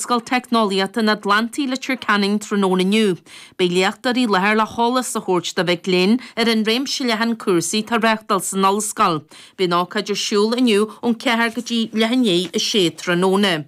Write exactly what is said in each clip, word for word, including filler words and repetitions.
Ollscoil Teicneolaíochta an Atlantaigh, Leitir Ceanainn tráthnóna inniu. Beidh léachtóirí i láthair le heolas a thabhairt do mhic léinn ar an réimse leathan cúrsaí atá á reáchtáil san ollscoil. Beidh an ócáid ar siúl inniu ón ceathair go dtí leath i ndiaidh a sé tráthnóna.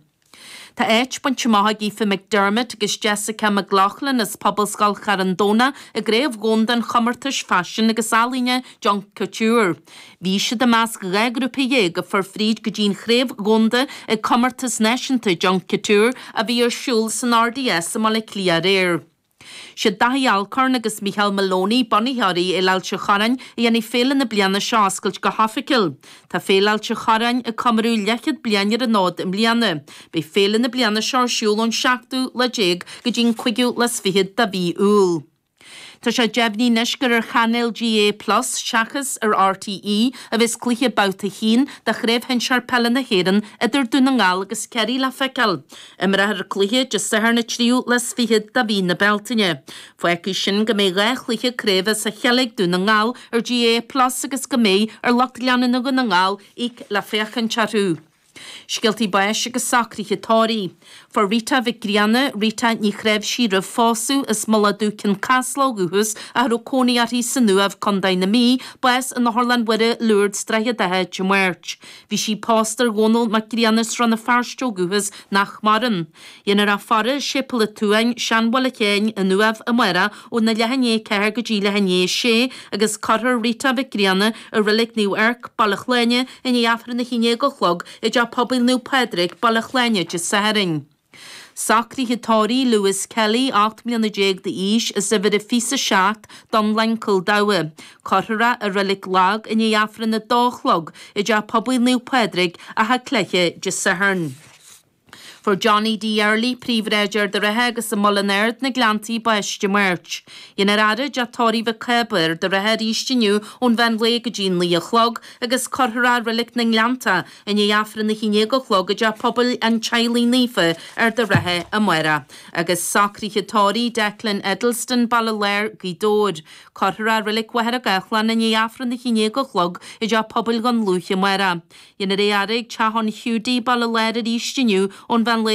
Tá áit bainte amach ag Aoife McDermott agus Jessica McLaughlin as Pobalscoil Charn Domhnach i gCraobh Dhomhanda an Chomórtais Faisin agus Ealaíne Junk Kouture. Bhí siad i measc dhá ghrúpa dhéag a fuair fríd go dtí an Chraobh Dhomhanda ag Comórtas Náisiúnta Junk Kouture a bhí ar siúl san RDS i mBaile Átha Cliath aréir. Siad Daithí Alcorn agus Micheál Moloney, bunaitheoirí Fhéile Ailt an Chorráin, a dhéanfaidh féile na bliana seo a oscailt go hoifigiúil. Tá Féile Ailt an Chorráin ag comóradh leathchéad bliain ar an fhód i mbliana. Beidh féile na bliana seo ar siúl ón seachtú lá déag go dtí an cúigiú lá is fiche de mhí Iúil. Tá sé deimhnithe anois gur ar chainéal GAA Plus seachas ar RTÉ a bheas cluiche Babhta a haon de Chraobh Shinsear Peile na hÉireann idir Dún na nGall agus Ciarraí le feiceáil. Imreofar an cluiche Dé Sathairn an tríú lá is fiche de mhí na Bealtaine. Fágfaidh sin go mbeidh dhá chluiche craoibhe as a chéile ag Dún na nGall ar GAA Plus agus go mbeidh ar lucht leanúna Dhún na nGall íoc le féachaint orthu. Scéaltaí báis agus socruithe tórraimh. Fuair Rita Mhic Grianna, Rita Ní Chnáimhsí roimh phósadh, as Mullach Dubh Cionn Caslach ó dhúchas ach a raibh cónaí uirthi san Uaimh, Contae na Mí, bás in Otharlann Mhuire, Lourdes, Droichead Átha, Dé Máirt. Bhí sí pósta ar Dhónall Mac Grianna as Rann na Feirste ó dhúchas nach maireann. Dhéanfar a faire i Séipéal an tSuain, Seanbhaile Sheáin, an Uaimh, amárach óna leath i ndiaidh a ceathair go dtí leath i ndiaidh a sé agus cuirfear Rita Mhic Grianna i Reilig Naomh Eirc, Baile Shláine, i ndiaidh Aifreann a haon déag a chlog i dTeach Pobail Naomh Pádraig, Baile Shláine, Dé Sathairn. Socruithe tórraimh Lewis Kelly, ocht mbliana déag d'aois, as uimhir a fiche a seacht, Dúnlaing, Cúil Dabha. Cuirfear é i Reilig Lag i ndiaidh Aifreann a dó a chlog i dTeach Pobail Naomh Pádraig, Achadh Cloiche, Dé Sathairn. Fuair Johnny D. Early, Príomhbhráid Ard an Rátha agus i Muileann Ard na Gleanntaí bás Dé Máirt. Dhéanfar a fhaire i dTeach Tórraimh Mhic Cába, Ard an Rátha arís inniu ón mheán lae go dtí naoi a chlog agus cuirfear é i Reilig na nGleanntach i ndiaidh Aifreann a haon déag a chlog i dTeach Pobail an Teaghlaigh Naofa, Ard an Rátha amárach. Agus socruithe tórraimh Declan Eddleston, Baile Láir, Gaoth Dobhair. Cuirfear é i Reilig Mhachaire Gathlán i ndiaidh Aifreann a haon déag a chlog i dTeach Pobail Dhún Lúiche amárach. Dhéanfar é a fhaire ag Teach an Hiúdaí, Baile Láir arís inniu ón mheán lae